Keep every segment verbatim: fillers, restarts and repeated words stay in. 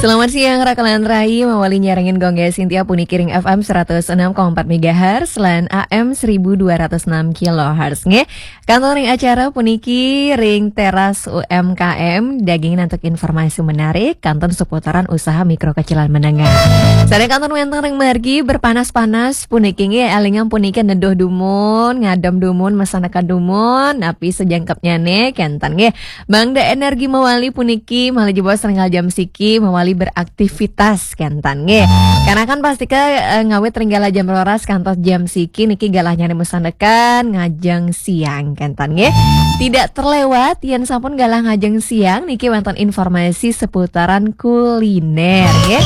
Selamat siang, Raka lan Rai, mawali nyarengin Gongge Sintia puniki ring F M seratus enam koma empat megahertz lan A M seribu dua ratus enam kilohertz. Nggih, kantun ring acara puniki ring Teras U M K M, daging antuk informasi menarik, kantun seputaran usaha mikro kecil lan menengah. Sareng kantun wénten ring margi berpanas-panas puniki nggih, élingang puniki neduh dumun, ngadem dumun, masandekan dumun, napi sajangkepnyané, kénten nggih. Mangda energi mawali puniki, malih jebos setengah jam siki, mawali beraktivitas, kénten nggih. Karena kan pastika, eh, ngawit ring galah jam roras kantos jam siki niki galahnyané masandekan, ngajeng siang, kénten nggih. Tidak terlewat, yén sampun galah ngajeng siang, niki wénten informasi seputaran kuliner, nggih.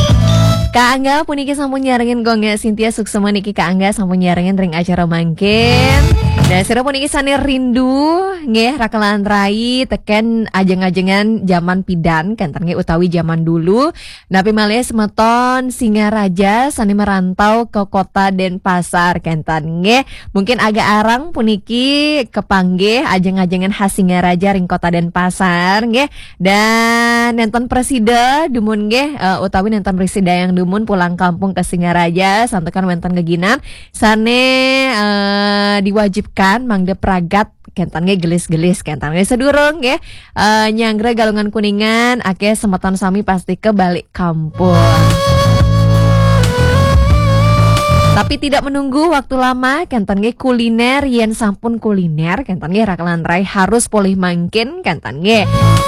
Kak Angga puniki sampun nyarengin Gongge Sintia, suksma niki Kak Angga sampun nyarengin ring acara mangkin. Nah, sira puniki sané rindu, nggih, Raka lan Rai, tekén ajeng-ajengan jaman pidan, kénten nggih, utawi jaman dulu. Napi malih semeton Singaraja sané merantau ke kota Denpasar, kénten nggih. Mungkin agak arang puniki kepanggih ajeng-ajengan khas Singaraja ring kota Denpasar, nggih. Dan nénten prasida dumun nggih, eh, utawi nénten prasida yang dumun pulang kampung ke Singaraja, santukan wénten geginan sané, eh, diwajibkan mangda pragat, kénten nggih, gelis-gelis, kénten nggih, sadurung nggih, eh, nyanggra Galungan Kuningan, akéh semeton sami pastika balik kampung. Tapi tidak menunggu waktu lama, kénten nggih, kuliner, yén sampun kuliner, kénten nggih, Raka lan Rai harus polih mangkin, kénten nggih.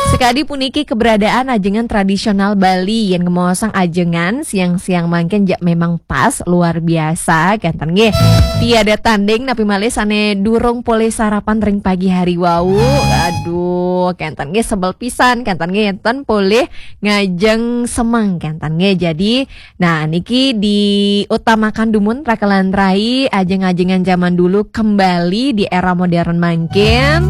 Sekadi puniki keberadaan ajengan tradisional Bali, yén ngemaosang ajengan siang-siang mangkin ja memang pas, luar biasa, kénten nggih. Tiada tanding, napi malih sané durung polih sarapan ring pagi hari wau. Aduh, kénten nggih, sebel pisan, kénten nggih, yén ten polih ngajeng semeng, kénten nggih. Jadi, nah, niki diutamakan dumun, Raka lan Rai, ajeng-ajengan zaman dulu kembali di era modern mangkin.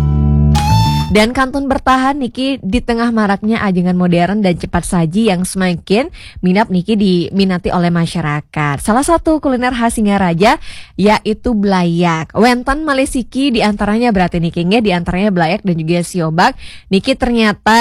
Dan kantun bertahan niki di tengah maraknya ajengan modern dan cepat saji yang semakin minat niki diminati oleh masyarakat. Salah satu kuliner khas Singaraja yaitu blayak. Wénten malih siki, di antaranya berarti niki nggih, di antaranya blayak dan juga siobak. Niki ternyata,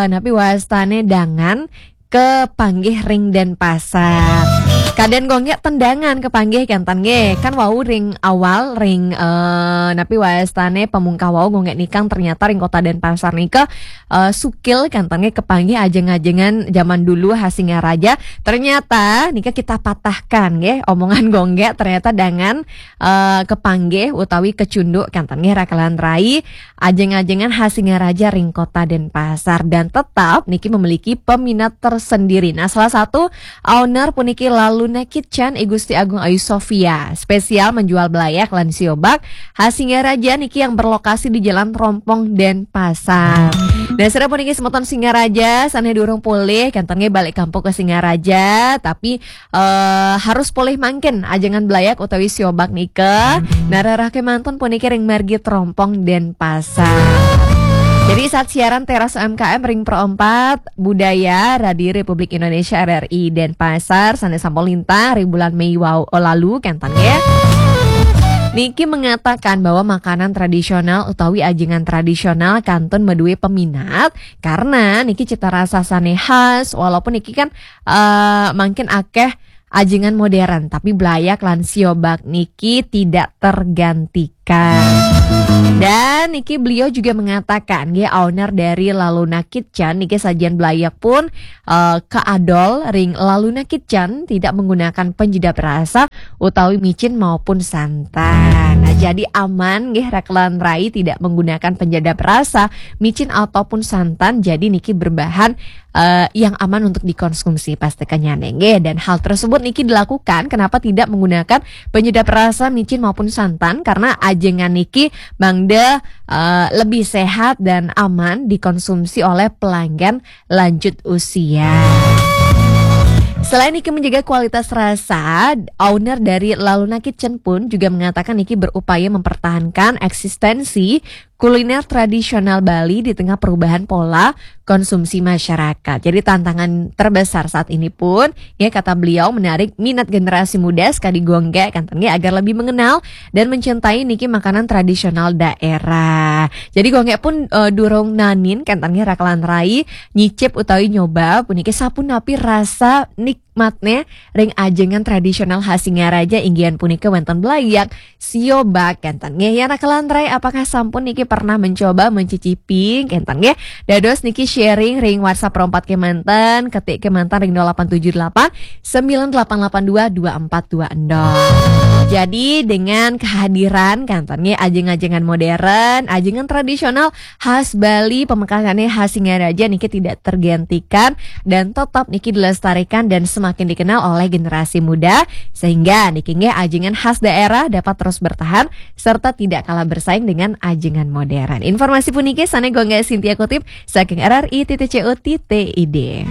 eh, napi wastané dangan kepanggih ring Denpasar. Kadén Gongge ten dangan kepanggih, kénten nggih. Kan wau ring awal, ring, eh, napi wastané pamungkah wau Gongge nikang ternyata ring kota Denpasar nika, eh, sukil, kénten nggih, kepanggih ajeng-ajengan zaman dulu khas Singaraja. Ternyata nika kita patahkan nggih, omongan Gongge, ternyata dangan, eh, kepanggih utawi kecunduk, kénten nggih, Raka lan Rai, ajeng-ajengan khas Singaraja ring kota Denpasar, dan tetap niki memiliki peminat tersendiri. Nah, salah satu owner puniki Laluna Kitchen, I Gusti Agung Ayu Sofia, spesial menjual blayak lan siobak khas Singaraja niki yang berlokasi di Jalan Trompong, Denpasar. Nah, sira puniki semeton Singaraja sané durung polih, kénten nggih, balik kampung ke Singaraja, tapi eh, harus polih mangkin ajengan blayak utawi siobak nika. Nah, rereh kémanten puniki ring margi Trompong, Denpasar. Jadi, saat siaran Teras U M K M ring Pro empat Budaya Radio Republik Indonesia, R R I, Denpasar, sané sampun lintang ring bulan Mei wau, oh, lalu, kénten nggih. Niki mengatakan bahwa makanan tradisional utawi ajengan tradisional kantun madué peminat karena niki cita rasa sané khas, walaupun niki kan, eh, mangkin akéh ajengan modern, tapi blayak lan siobak niki tidak tergantikan. Dan niki beliau juga mengatakan, nggih, owner dari Laluna Kitchen niki, sajian blayak pun, eh, kaadol ring Laluna Kitchen tidak menggunakan penyedap rasa utawi micin maupun santan. Nah, jadi aman nggih, Raka lan Rai, tidak menggunakan penyedap rasa, micin ataupun santan. Jadi niki berbahan eh, yang aman untuk dikonsumsi, pastikannyané nggih. Dan hal tersebut niki dilakukan kenapa tidak menggunakan penyedap rasa, micin maupun santan, karena ajengan niki mangda, eh, lebih sehat dan aman dikonsumsi oleh pelanggan lanjut usia. Selain niki menjaga kualitas rasa, owner dari Laluna Kitchen pun juga mengatakan niki berupaya mempertahankan eksistensi kuliner tradisional Bali di tengah perubahan pola konsumsi masyarakat. Jadi tantangan terbesar saat ini pun, ya, kata beliau, menarik minat generasi muda sekadi Gung Gek, kan, agar lebih mengenal dan mencintai niki makanan tradisional daerah. Jadi Gung Gek pun eh, durung nanin, kan, raka lantarai nyicip utawi nyoba puniki sapunapi rasa nikmatnya ring ajengan tradisional khas Singaraja, inggih punika wonten belayak, sio bak, kan, nggih. Raka lantarai, apakah sampun niki pernah mencoba mencicipi, kan, nggih? Dados niki sharing ring WhatsApp Rompat kemanten, ketik kemanten ring nol delapan tujuh delapan sembilan delapan delapan dua dua empat dua nol. Jadi dengan kehadiran, kan, nggih, ajengan-ajengan modern, ajengan tradisional khas Bali, pamekasannya khas Singaraja niki tidak tergantikan dan tetap niki dilestarikan dan semakin dikenal oleh generasi muda, sehingga niki nggih ajengan khas daerah dapat terus bertahan serta tidak kalah bersaing dengan ajengan modern. Informasi puniki sane Gung Gek Sintia kutip saking R R I titik C O titik I D.